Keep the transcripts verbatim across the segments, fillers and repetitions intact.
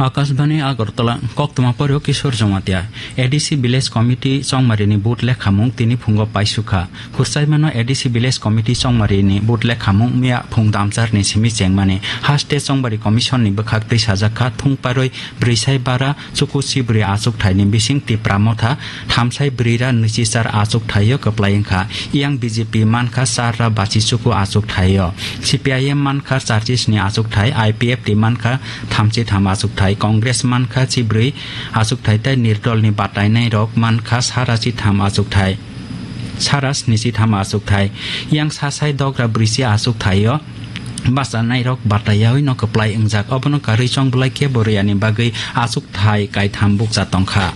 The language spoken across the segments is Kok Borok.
Akashbani Agartala, koktwma poryo Kishore Jamatia. A D C Village Committee chongmarini vote lekhamung tini phungo paisukha. Khursaimano A D C Village Committee chongmarini vote lekhamung miya phung damcharni simi chengmani. Haste chongbari commission ni bwkhak twi sajakha, thung paroi brisai bara chuku sibri achuk thaini bising Tipra Motha, thamsai brira nwichichar achuk thaio kwplai wngkha. Yang B J P mankha charra bachi chuku achuk thaio. C P I M mankha charchisni achuk thai, I P F T mankha thamchi tham achuk thai, Congress mankha chibrwi achuk thai tei nirdolni batainai rok mankha sara chitham achuk thai. Sara snichi tham achuk thai. Yang sasai dogra brisi achuk thaio. Bachanairok bataiyaui no kwplai wngjak, obono karwi chongbwlai kebo rwiyani bagwi achuk thai kaitham bukcha tongkha.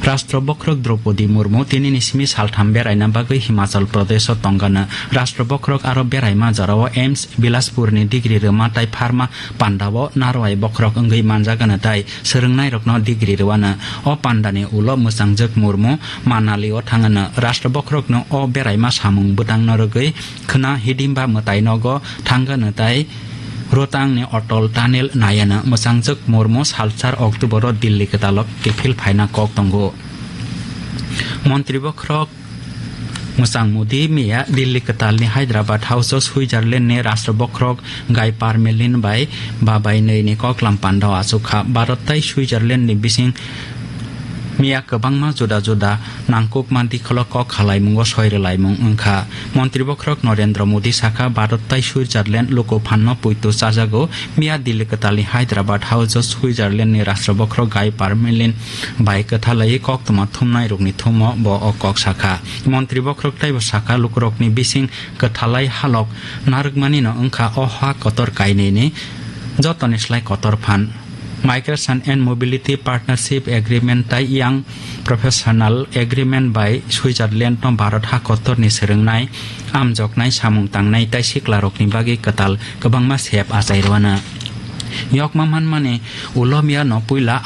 Rashtra bokhorok Draupadi Murmu tinini simi saltham beraina bagwi Himachal Pradesho tongano. Rashtra bokhorok aro beraima jorao A I M S Bilaspurni degree rwma tai pharma pandao narwai bokhorok wngwi manjagano tai swrwngnairokno degree rwano. O pandani ulo mwchangjwk Murmu Manalio thangano. Rashtra bokhorokno o beraima samung bwtangno rwgwi khwna hidimba mwtai nogo thangano tai Rotangni Atal Tunnel nayano. Mwchangjwk Murmu salsar October-o Delhi kwtalo kiphil phaina kok tongo. Montri bokhorok Mwchang Modi miya Delhi kwtalni Hyderabad House-o Switzerland-ni Rashtra bokhorok Guy Parmelin bai babai nwi ni koklam pandao achukha. Bharat tai Switzerland-ni bising miya kwbangma juda juda nangkukma dikholo kok khalaimungo soi rwlaimung wngkha. Montri bokhorok Narendra Modi sakha, Bharat tai Switzerland luku phanno poito chajago. Miya Delhi kwtalni Hyderabad House-o Switzerland-ni Rashtra bokhorok Guy Parmelin bai kwthalai koktwma thumnairokni thumo bo o kok sakha. Montri bokhorok teibo sakha, lukurokni bising kwthalai halok narwkmanino wngkha o ha kotor kainwini jotoni slai kotor phan. Migration and Mobility Partnership Agreement tai Young Professional Agreement bai Switzerland no Bharat ha kotorni swrwngnai, amjoknai, samung tangnai tai siklarokni bagwi kwtal kwbangma sep achai rwano. Yokma manmani ulo miya no puila